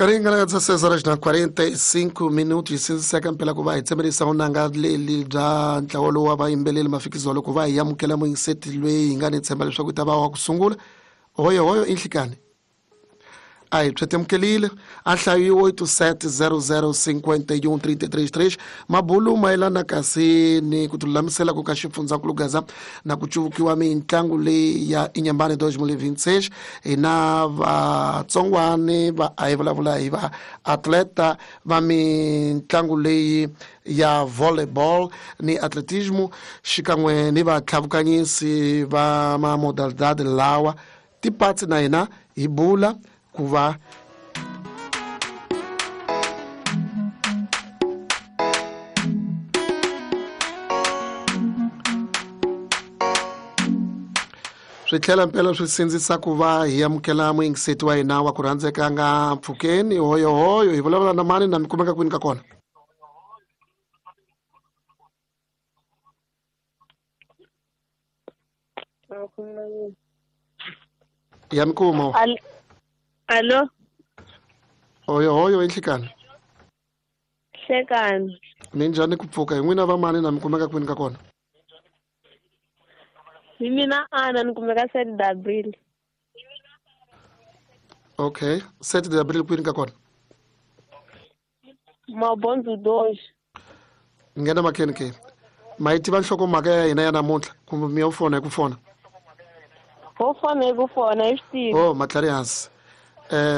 Nkarhi nga na 16 horas na 45 minutos sindziseka mpela ku va hi tsemerisa vunanga leli bya ntlawa lowu wa vayimbeleri mafikizolo ku va hi amukela muyingiseti loyi hi nga ni tshemba leswaku i ta va wa ku sungula. Hoyohoyo i nhlikani a hi pyetemukelile a hlayiwe 87005133 mabulu mayelana kasi ni ku tilulamisela ku ka xifundzankulu Gaza na ku cuvukiwa mitlangu leyi ya Inyambane 2026. Hi na vatsongwani va a hi vulavula hi va atleta va mitlangu leyi ya volleyball ni atletismo xikan'we ni vatlhavukanyisi va mamodalidade lawa tipatsi na hina hi bula ku va swi tlhela mpela swi sindzisa ku va hi amukela muyingiseti wa hina wa ku rhandzeka nga mpfhukeni. Hoyohoyo, hi vulavula na mani na mi kumeka kwini ka kona? Ya mi kuma. Alo. Hoyohoyo, enhlikani. Hlekani. Minjhani ku pfuka? Hi n'wina va mani na mi kumeka kwini ka kona? Hi mina Ana, ni kumeka 7 d'Abril. Okay, 7 d'Abril kwini ka kona? Mabondzo 2. Nghena makheni ke. Ma yi tiva nhlokomhaka ya hina ya namuntlha kumbe mi yo fona hi ku fona? Ho fona hi ku fona, hi swi tivi. Oh, matlhari hansi.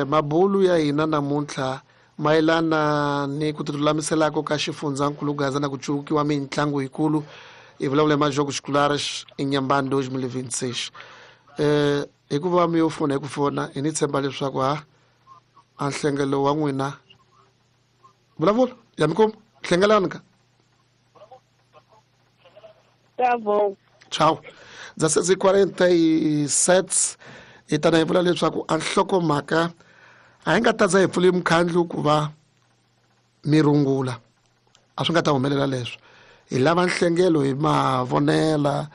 Mabulu ya hina namuntlha mayelana ni ku tilulamiselako ka xifundzankulu Gaza na ku cuvukiwa mitlangu yikulu. Hi vulavula hi Majogos Escolares Inyambane 2026. Hikuva mi yo fona hi ku fona, hi ni tshemba leswaku ha a nhlengelo wa n'wina vulavula ya mi kuma hlengelani ka. Tá bom. Tchau. 16:47 hi tana hi vula leswaku a nhlokomhaka a hi nga ta za hi pfule mukhandlu ku va mi rungula, a swi nga ta humelela leswo. Hi lava nhlengelo hi mavonela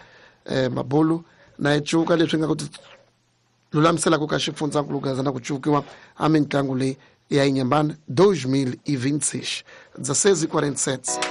mabulu na hi cuka leswi nga ku lulamiselaka ka xifundzankulu Gaza na ku cukiwa a mitlangu leyi ya Inyambane 2026. 16:47.